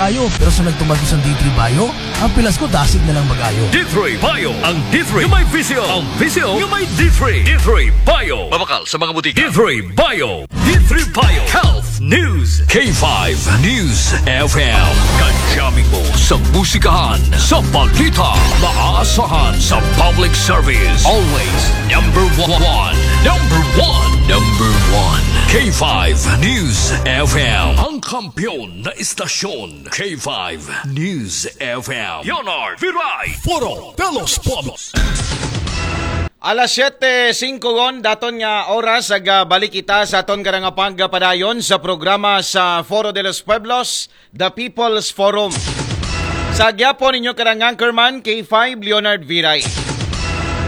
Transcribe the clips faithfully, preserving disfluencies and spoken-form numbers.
Ayo, pero sa nagtumag sa D three Bio, ang pilas ko dasig na lang mag-ayo. D three Bio. Ang D three yung may visyo. Ang visyo yung may D three. D three Bio. Mabakal sa mga butika. D three Bio. D three Bio. Health News. K five News F M. Kajami mo sa musikahan, sa balita, maasahan sa public service. Always number one. Number one. Number one. K five News F M. Ang kampiyon na istasyon. K five News F M. Leonard Viray. Foro de los Pueblos. Alas siyete singko gon, daton nga oras, ag, ah, balik kita sa aton karang pagpadayon sa programa sa Foro de los Pueblos, The People's Forum. Sa gyapon ninyo karang anchorman, K five Leonard Viray.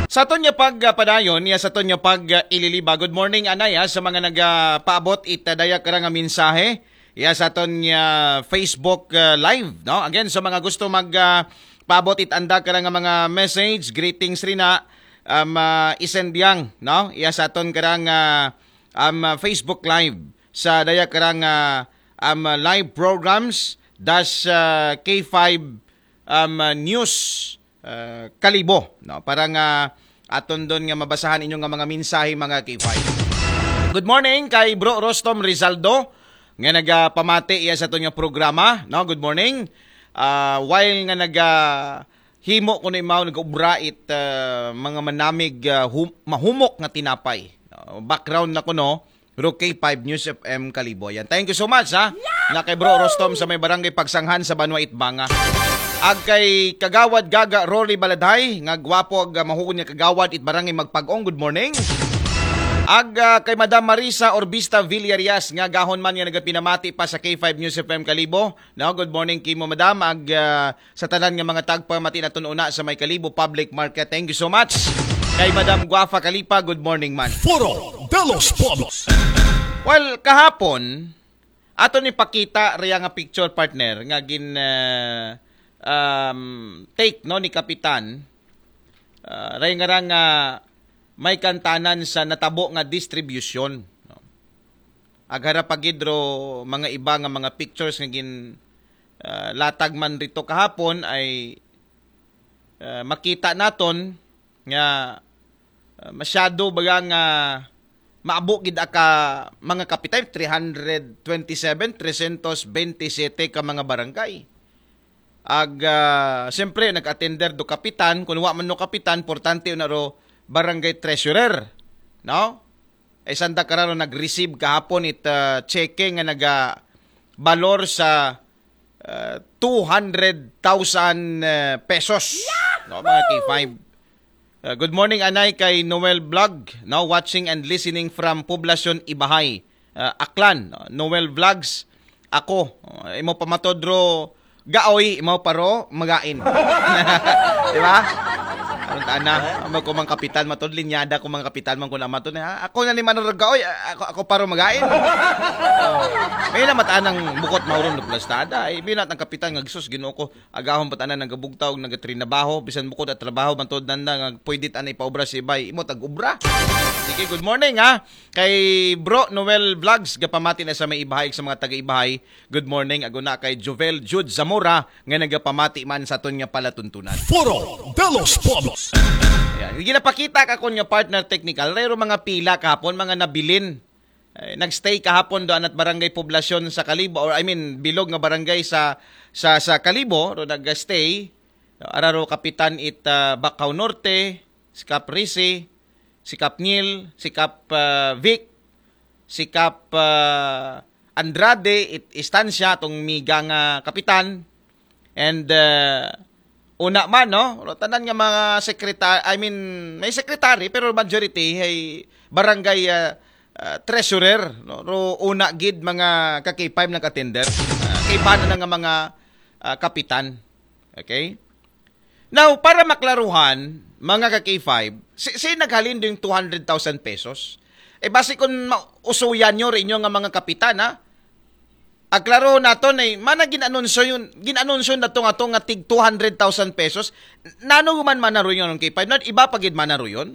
Sa aton nga pagpadayon, ya sa aton nga pag-ililiba. Good morning, anay, ah, sa mga nagapaabot it, ah, daya karang mensahe. Ya sa aton nga Facebook, ah, Live, no? Again, sa mga gusto mag, ah, paabot it anda karang mga message, greetings rin na, um, ah, isend yang, no? Ya sa aton karang, ah, um, ah, Facebook Live sa daya karang, ah, um, ah, live programs das, ah, K five, um, ah, News, ah, Kalibo, no? Para nga aton don nga mabasahan inyo nga mga mensahe, mga K five. Good morning kay Bro Rostom Rizaldo nga nagapamati iya sa aton nga programa, no? Good morning. Ah, while nga naga himo kuno imaw nag-ubra it, ah, mga manamig, ah, hum-, mahumok nga tinapay. No? Background na kuno, Ro K five News F M Kalibo. Yan. Thank you so much, ha. Nga kay Bro Rostom sa may barangay Pagsanghan sa Banwa Itbanga. Ag kay Kagawad Gaga Rory Baladhay, nga gwapo ag, ah, mahugod nga kagawad it barangay Magpag-ong. Good morning. Ag, ah, kay Madam Marisa Orbista Villarias, nga gahon man nga nagapinamati pa sa K five News F M Kalibo. No, good morning kimo, Madam. Ag, ah, sa tanan nga mga tagpamati naton una sa may Kalibo Public Market. Thank you so much. Kay Madam Guafa Kalipa, good morning man. Foro de los Pueblos. Well, kahapon, ato ni pakita riya nga picture, partner, nga gin, ah, um, take, no, ni Kapitan. Ah, ray nga ra nga may kantanan sa natabo nga distribution, no? Ag hara pa gid ro mga iba nga mga pictures nga gin, ah, latag man rito kahapon ay, ah, makita naton nga, ah, masyado baga nga maabo gid aka mga kapitan, three hundred twenty-seven, tresyentos bentisiete ka mga barangay. Ag, ah, siyempre, nag-attender do kapitan, kung wa man no kapitan, importante na ro barangay treasurer, no? Ay sanda kararo nag-receive kahapon it, ah, cheque nga naga balor sa, ah, two hundred thousand, ah, pesos. No, mga K five. Ah, good morning, anay, kay Noel Vlog, no, watching and listening from Poblacion Ibahay, ah, Aklan, no? Noel Vlogs, ako, ah, imo pamatod ro gaoy, imo paro magain. Di ba? Ang tana, amo ko mang kapitan matod, linyada ko mang kapitan man ko na matod, ha? Ako na ni Manor Gaoy, ako, ako paro magain. Oh. May na matanang bukot mauron na plastada. Ay, binat ang kapitan nga, "Sus, Ginoo ko, agahon pa tanan nagabugtaw, nagatrinabaho, bisan bukod at trabaho, mantod nanda nga pwede ta na ipaobra si bay, imo tag-obra." Sige, good morning, ha. Kay Bro Noel Vlogs, gapamati na sa may Ibahay, sa mga taga-Ibahay. Good morning, aguna kay Jovel Jude Zamora, nga nagapamati man sa aton nga palatuntunan. Foro de los Pueblos. Yan. Ginapakita ka kun nga partner technical, rero mga pila kahapon, mga nabilin. Eh, nag-stay kahapon do anat barangay Poblacion sa Kalibo, or I mean, bilog nga barangay sa, sa, sa Kalibo, ro nag-stay. Ara ro kapitan it, ah, Bacau Norte, si Kap Risi, si Kap Neil, si Kap, ah, Vic, si Kap, ah, Andrade, it, Estancia, atong miga nga kapitan. And, ah, una man, no? Tanan nga mga secretary, I mean, may secretary, pero majority ay barangay, ah, ah, treasurer, no? Ro una gid mga ka-K five nag-attender. Ah, kay bana na nga mga, ah, kapitan. Okay? Now, para maklaruhan, mga ka-K five, si, si naghalin do yung two hundred thousand pesos? Eh, basi kung ma-, usuyan nyo rin yung nga mga kapitan, ha? Aklaro naton, eh, mana ginanunsyo yun, ginanunsyo na to nga to nga tig two hundred thousand pesos. Nano man man na rin yun, K five? Not iba pa gid man na rin yun?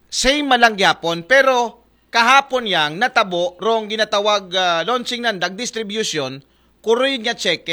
Same man lang gyapon, pero kahapon yang natabo rong ginatawag, ah, launching nandag distribution, kuroy nga cheque,